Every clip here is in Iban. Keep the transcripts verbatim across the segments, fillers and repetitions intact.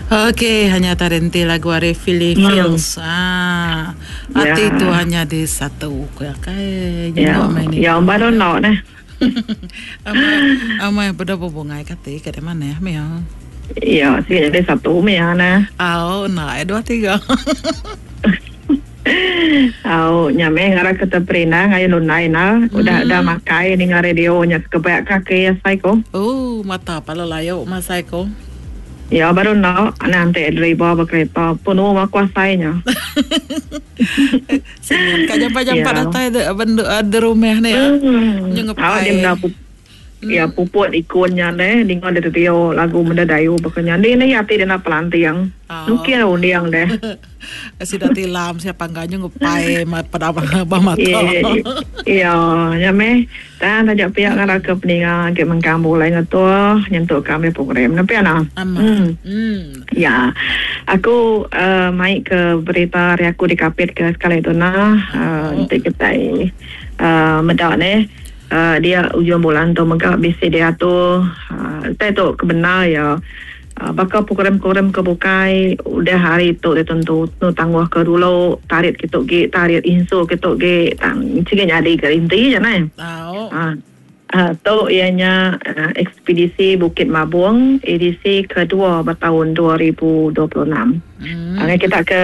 Okey, hanya tarenti lagu ari Philly Hmm. Fields. Ah. Hati Ya. tu hanya di satu. Kai Ya. nyenguk main ni. Ya baru nak nah. Amai amai beda bebungai kati ke mana ya? Ya, sih jadi satu meh nah. Au, nah, dua tiga. Au, nyame ngara ke terperina ngayu lunai na. Udah udah makai ninga radio nya kebayak kaki asai ko. Oh, mata pala layu masai ko. Ya baru nak nanti driver berkereta penuh aku asainya. Singin ka jampa-jampa Ya. datai de bendu de rumah ni ya. Hmm. Nyu Au dia ngepai. mena pup, ya puput ikonnya deh ninga de radio lagu mendayu bakanya ni ni ati dia nak pelantiang. Oh. Nukir undiang deh. Sida tilam siapa enggak nyu ngepai pada abah mata. Iya, ya meh. Dan tajak pihak ngara ke peninga ke mengkambu lai ngetua nyentuh kami program. Nampak ana? Ama. Hmm. Hmm. Ya, aku uh, mai ke berita hari aku dikapit ke sekali tu nah. Uh, nanti kita uh, medak ni. Uh, dia ujung bulan tu mega bisi dia tu uh, tu kebenar ya. Uh, bakal program-program kebukai udah hari tu dia tentu nu tangguh ke dulu tarik kita ge tarik insu kita ge tang cige nyadi ke inti je nai. Tahu. Ah. Uh, tu ianya uh, ekspedisi Bukit Mabung edisi kedua bertahun dua ribu dua puluh enam. Hmm. Uh, kita ke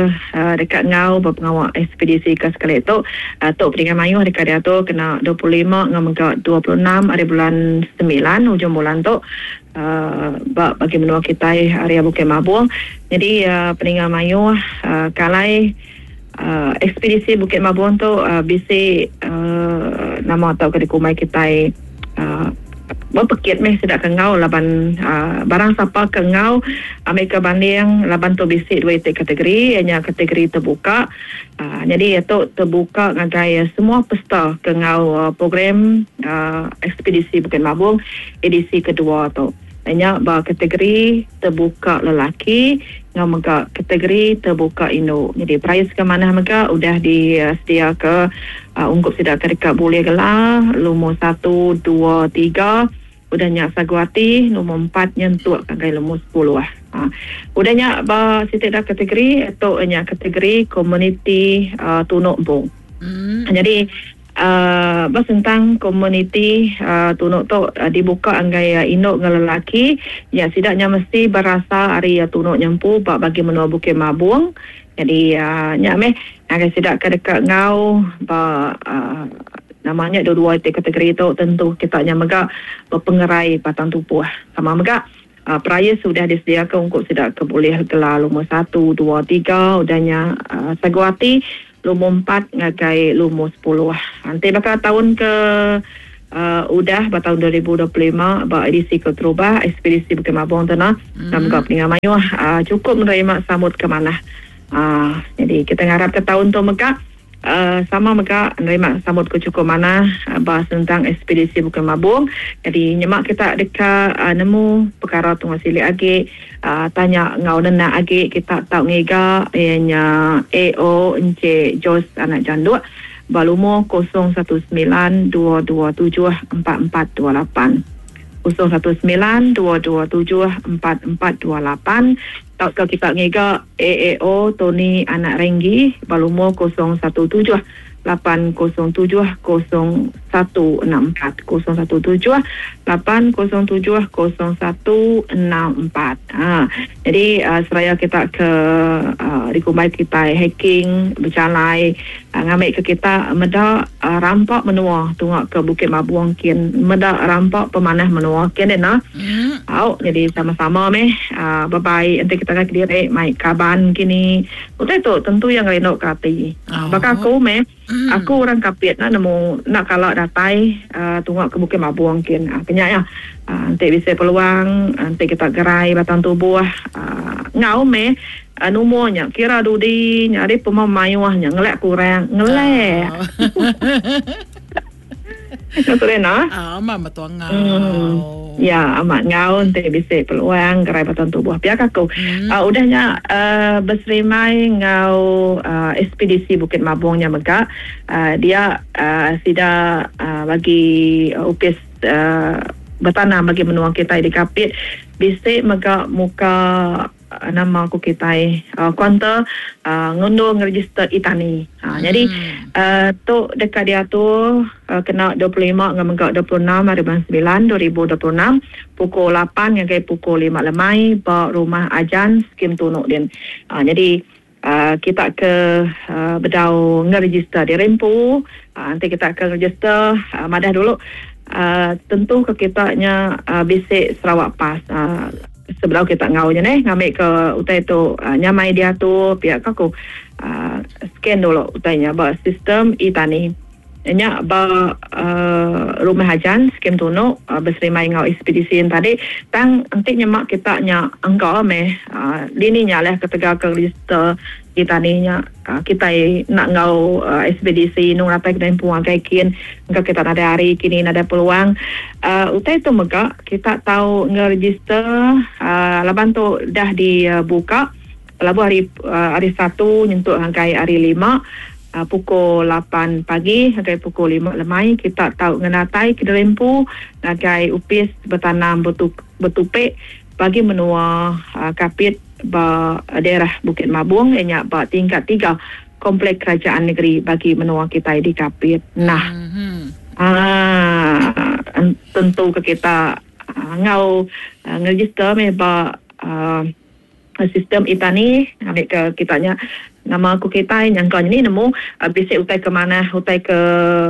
uh, dekat ngau berpengawal ekspedisi ke sekali tu uh, tu peringkat mayuh dekat dia tu kena dua puluh lima ngau mengka dua puluh enam hari bulan sembilan hujung bulan tu uh, bagi menua kita area Bukit Mabung. Jadi uh, peringkat mayuh uh, kalai uh, ekspedisi Bukit Mabung tu uh, bisi uh, nama atau ke dikumai kita uh, berpekit meh sedak ke ngau laban uh, barang siapa ke ngau ambil ke banding laban tu bisi dua itik kategori ianya kategori terbuka uh, jadi itu terbuka ngagai semua peserta ke ngau uh, program uh, ekspedisi Bukit Mabung edisi kedua tu ianya ba kategori terbuka lelaki ngau mega kategori terbuka induk. Jadi prize ke mana mega udah disedia ke uh, ungkup sidak ke dekat boleh gelar lumur satu, dua, tiga udah nyak saguati nombor empat nyentuk kagai lumur sepuluh lah. Ha. Udah nyak ba sitik dah kategori atau nyak kategori komuniti uh, Tunuk Bung. Hmm. Jadi Uh, bas tentang komuniti uh, tunuk tu uh, dibuka anggai uh, induk dengan lelaki ya sidaknya mesti berasa hari uh, tunuk nyempu bak bagi menua Bukit Mabung. Jadi uh, nyak meh anggai sidak ke dekat ngau ba uh, namanya dua-dua kategori tu tentu kita nya mega berpengerai batang tubuh sama mega uh, peraya sudah disediakan untuk sidak ke boleh gelar lumur satu, dua, tiga udahnya uh, saguati lumur empat ngagai lumur sepuluh. Nanti bakal tahun ke uh, udah tahun dua ribu dua puluh lima bak edisi ke terubah ekspedisi Bukit Mabung tu nah. Hmm. Dan juga peningan mayuh uh, cukup menerima sambut ke mana. Uh, jadi kita ngarap ke tahun tu mega uh, sama mega menerima sambut ke cukup mana uh, bahas tentang ekspedisi Bukit Mabung. Jadi nyemak kita dekat uh, nemu perkara tu silik agi uh, tanya ngau nenak agi kita tau ngiga ianya A O Encik Jos anak janduk balumo kosong satu sembilan dua dua tujuh empat empat dua lapan kosong satu sembilan dua dua tujuh empat empat dua lapan. Tau ke kita ngiga A A O Tony anak Renggi balumo kosong satu tujuh lapan kosong tujuh kosong satu enam empat kosong satu tujuh lapan kosong tujuh kosong satu enam empat. Ha, jadi uh, seraya kita ke uh, dikumbai kita hiking berjalai uh, ngambil ke kita meda uh, rampak menua tungak ke Bukit Mabung kin meda rampak pemanah menua kin deh nah. Hmm. Au, jadi sama-sama meh uh, bye bye nanti kita ke diri mai kaban kini. Utai tu tentu yang rindu ke hati. Oh. Bakal aku meh Hmm. Aku orang Kapit nak nemu nak kalau datai uh, tungak ke Bukit Mabung kin uh, kenyak ya. Uh, nanti bisa peluang nanti kita gerai batang tubuh uh, ngau meh uh, numurnya kira dudi nyari pemamayuahnya ngelak kurang ngelak. Oh. Betul nah. Ah, amat betul ngau. Hmm. Ya, amat ngau nanti bisa peluang gerai batang tubuh. Pihak aku. Hmm. Uh, udahnya uh, berserimai ngau uh, ekspedisi Bukit Mabungnya mega uh, dia uh, sida uh, bagi uh, upis uh, bertanam bagi menua kita di Kapit bisa mega muka nama aku kita uh, kuanta uh, ngundur ngeregister itani. Ha, hmm. Jadi uh, tu dekat dia tu uh, kena dua puluh lima dengan menggak dua puluh enam hari bulan sembilan dua ribu dua puluh enam pukul lapan hingga pukul lima lemai ba rumah Ajan skim Tunuk din. Ha, jadi uh, kita ke uh, bedau ngeregister di Rempu, uh, nanti kita ke register uh, madah dulu uh, tentu ke kita nya uh, bisik Sarawak Pass. Uh, sebelum kita ngaunya neh ngambil ke utai tu uh, nyamai dia tu pihak aku uh, scan dulu utainya ba sistem e-tani nya ba uh, rumah Ajan skim Tunuk uh, berserimai ngau ekspedisi yang tadi tang nanti nyemak kita nya engkau meh uh, dini nya lah ketegal ke register e-tani nya uh, kita nak ngau uh, ekspedisi nung ratai kena puang kaikin engkau kita ada hari kini ada peluang uh, utai tu mega kita tahu ngeregister uh, laban tu dah dibuka labu hari uh, hari satu nyentuk hangkai hari lima uh, pukul lapan pagi hangkai pukul lima lemai kita tahu ngenatai ke Rempu ngagai upis bertanam betu, betupik bagi menua uh, Kapit ba daerah Bukit Mabung ianya ba tingkat tiga Komplek Kerajaan Negeri bagi menua kita di Kapit. Nah, mm-hmm. ah, tentu ke kita uh, ngau uh, ngeregister me ba uh, sistem itani ambil ke kitanya nama aku kita nyangka ni nemu uh, bisik utai ke mana utai ke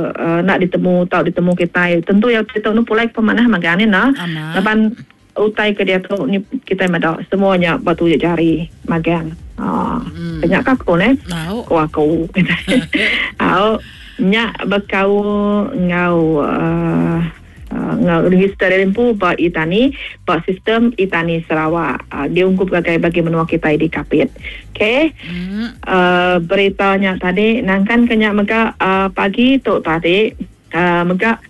uh, nak ditemu tau ditemu kita tentu ya kita nu pulai ke mana magane nah laban utai ke dia tu ni kita mada semuanya batu jari magang ah hmm. Banyak aku ne aku aku au nyak bekau ngau uh, Uh, register rempu ba itani ba sistem itani Sarawak uh, diungkup gagai bagi menua kita di Kapit. Okey. Mm. Uh, beritanya tadi nangkan kenyak mega uh, pagi tu tadi uh, mega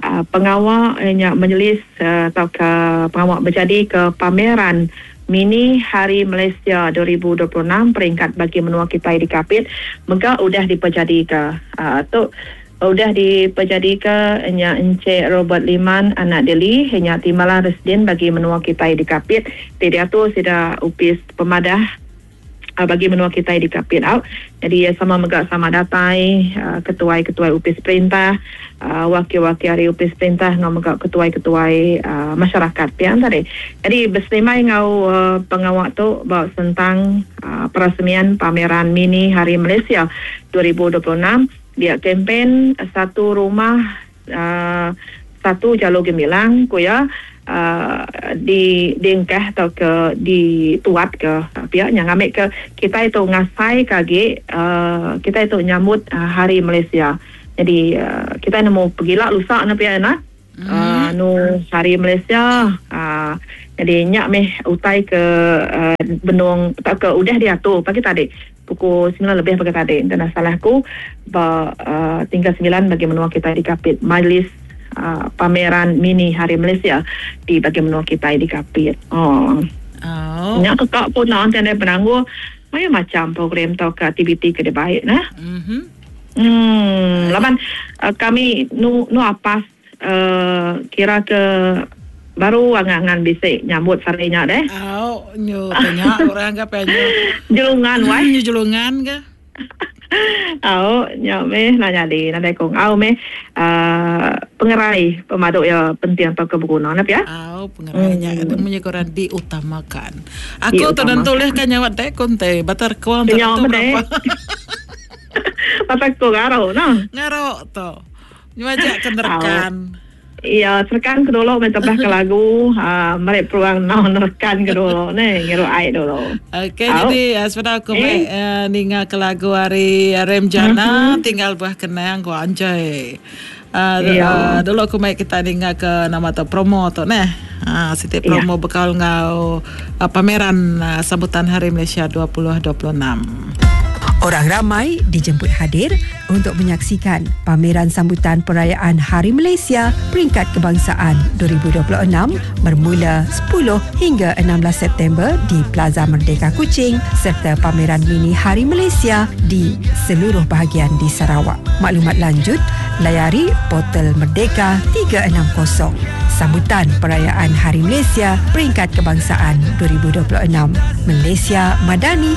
uh, pengawal nyak majlis uh, atau ke pengawal berjadi ke pameran Mini Hari Malaysia dua ribu dua puluh enam peringkat bagi menua kita di Kapit mega udah diperjadi ke uh, tu udah diperjadi ke nya Encik Robert Liman anak Deli hanya timbalan residen bagi menua kita di Kapit. Tidak tu sida upis pemadah uh, bagi menua kita di Kapit out. Jadi sama megak sama datai uh, ketuai-ketuai upis perintah, uh, wakil-wakil hari upis perintah ngau megak ketuai-ketuai uh, masyarakat pian tadi. Jadi berselimai ngau uh, pengawak tu bak sentang uh, perasmian pameran Mini Hari Malaysia dua ribu dua puluh enam. Dia kempen satu rumah uh, satu jalur gemilang ku ya uh, di dingkah atau ke di tuat ke pihak yang ngambil ke kita itu ngasai kage uh, kita itu nyambut uh, Hari Malaysia. Jadi uh, kita nemu pergilah lusa na pihak na mm. uh, nu Hari Malaysia uh, jadi nyak meh utai ke uh, benung tak ke udah diatur pagi tadi pukul sembilan lebih pagi tadi. Dan salahku ba uh, tinggal sembilan bagi menua kita di Kapit majlis uh, pameran Mini Hari Malaysia di bagi menua kita di Kapit. Oh. Oh. Nyak kekak pun nak nanti ada penangguh banyak macam program atau ke aktiviti ke dia baik nah. Mm-hmm. Hmm, laban uh, kami nu nu apas uh, kira ke baru angan-angan bisik nyambut sarinya deh. Oh, nyu tanya orang ke penyu. Jelungan wai. Nyu jelungan ke? Oh, nyu meh nak jadi nadai kong. Au meh uh, pengerai pemaduk ya penting atau keberguna nap ya. Au pengerainya hmm. Itu punya koran diutamakan. Aku tentu leh kan nyawat deh konte batar kuang tentu berapa. Batar ku ngaro nah. Ngaro to. Nyu ajak kenderkan. Iya, serkan ke dulu minta bah ke lagu, uh, mereka peluang non rekan ke dulu ni, ngiru air dulu. Okey, jadi uh, sebenarnya aku eh. uh, ninga ke lagu hari Remjana, mm-hmm. Tinggal buah kenang gua anjay. Uh, iya. uh, dulu aku mai kita ninga ke nama tu promo tu neh. Ah, uh, siti promo iya. Bekal ngau uh, pameran uh, sambutan Hari Malaysia dua ribu dua puluh enam. Orang ramai dijemput hadir untuk menyaksikan pameran sambutan perayaan Hari Malaysia peringkat kebangsaan dua ribu dua puluh enam bermula sepuluh hingga enam belas September di Plaza Merdeka Kuching serta pameran mini Hari Malaysia di seluruh bahagian di Sarawak. Maklumat lanjut, layari portal Merdeka tiga enam kosong. Sambutan Perayaan Hari Malaysia Peringkat Kebangsaan dua ribu dua puluh enam. Malaysia Madani.